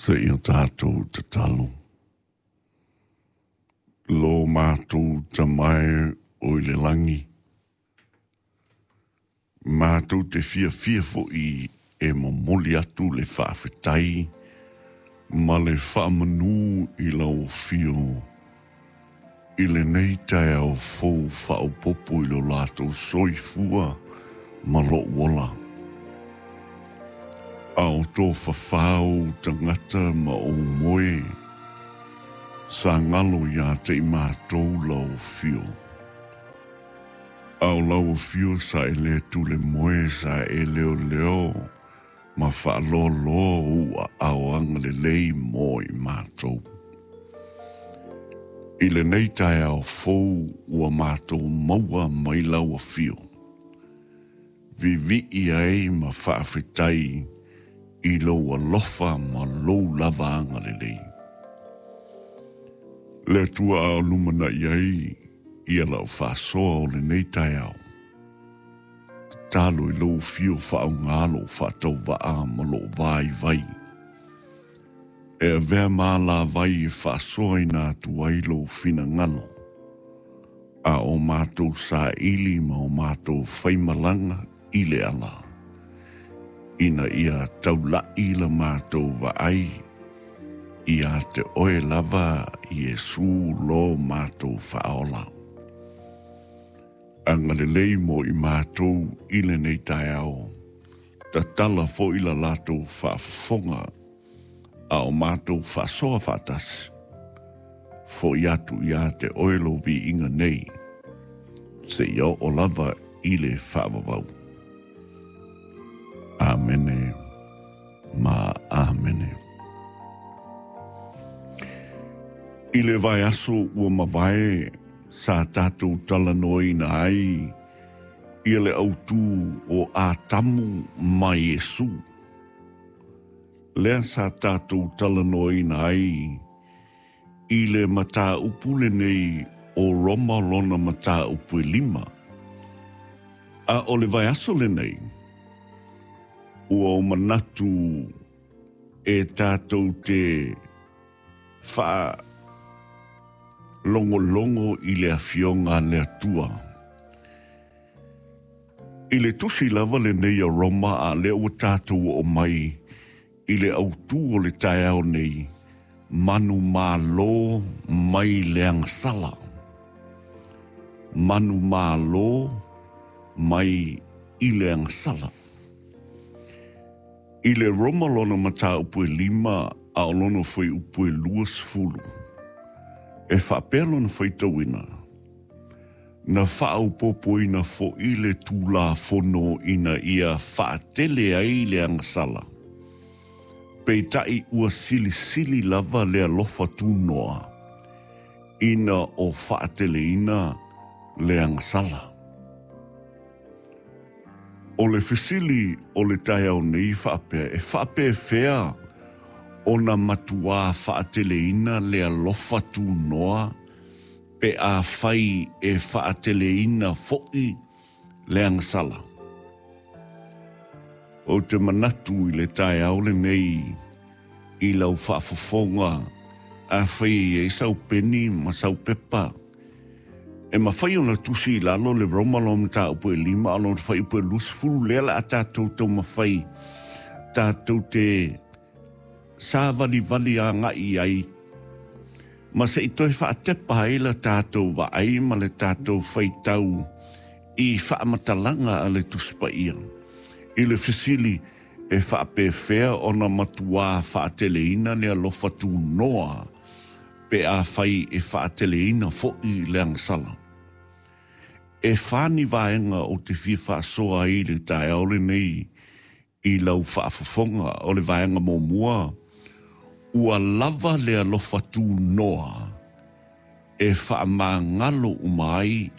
Seia tatou tatalo. Lo matou Tama e o i le lagi, matou te fiafia foi e momoli atu le faafetai ma le faamanu i lau Afio i lenei taeao fou faaopoopo i lo latou soifua ma lou ola. A o tofafā ou tagata ma ou moe, sa galo ia te i matou lau afio. A o lau afio sa e le tulemoe, sa e leoleo ma faaloaloa ou aao agalelei mo i matou. I lenei taeao fou ua matou maua mai lau afio, Vivii ai ma faafetai i lou alofa ma lou lava agalelei. Le Atua a o lumanai ai ia lau faasoa o lenei taeao, tatalo i lou afio faaaoga lou faatauvaa ma lou vaivai, e avea ma alavai e faasoaina atu ai lou finagalo, a o matou saili ma o matou faimalaga i le ala, ina ia taula'i la matou vaai ia te oe lava Iesu lo matou Faaola. Agalelei mo i matou i lenei taeao, tatala foi la latou faafofoga a o matou faasoa faatasi. Foi atu ia te oe lou viiga nei, seia oo lava i le faavavau. Amene ma amene. I le vaiaso ua mavae sa tatou talanoaina ai ia le autu o Atamu ma Iesu. Lea sa tatou talanoaina ai i le mataupu lenei o Roma lona mataupu e 5. A o le vaiaso lenei, ua ou manatu e tatou te faalogologo i le Afioga a le Atua. I le tusi lava lenei a Roma a lea ua tatou oo mai i le autu o le taeao nei, manumalo mai le agasala. Manumalo mai i le agasala. I le Roma lona mataupu e 5 a o lona fuaiupu e 20, e faapea lona faitauina, na faaopoopoina foi le Tulafono ina ia faatele ai le agasala, peitai ua silisili lava le alofa tunoa ina o faateleina le agasala. O le fesili o le taeao nei faapea, e faapefea ona matuā faateleina le alofa tunoa pe afai e faateleina foi le agasala? Ou te manatu i le taeao lenei i lau faafofoga, afai e i ai sau peni ma sau pepa, e mafai ona tusi i lalo le Roma lona mataupu e 5 a lona fuaiupu e 20, lea o le a tatou taumafai tatou te savalivali agai ai ma se i toe faatepa ai la tatou vaai ma le tatou faitau i faamatalaga a le Tusi Paia i le fesili e faapefea ona matuā faateleina le alofa tunoa pe afai e faateleina foi le agasala. E 4 ni vaega ou te fia faasoa ai i le taeao lenei i lau faafofoga. O le vaega muamua, ua lava le alofa tunoa e faamagalo uma ai.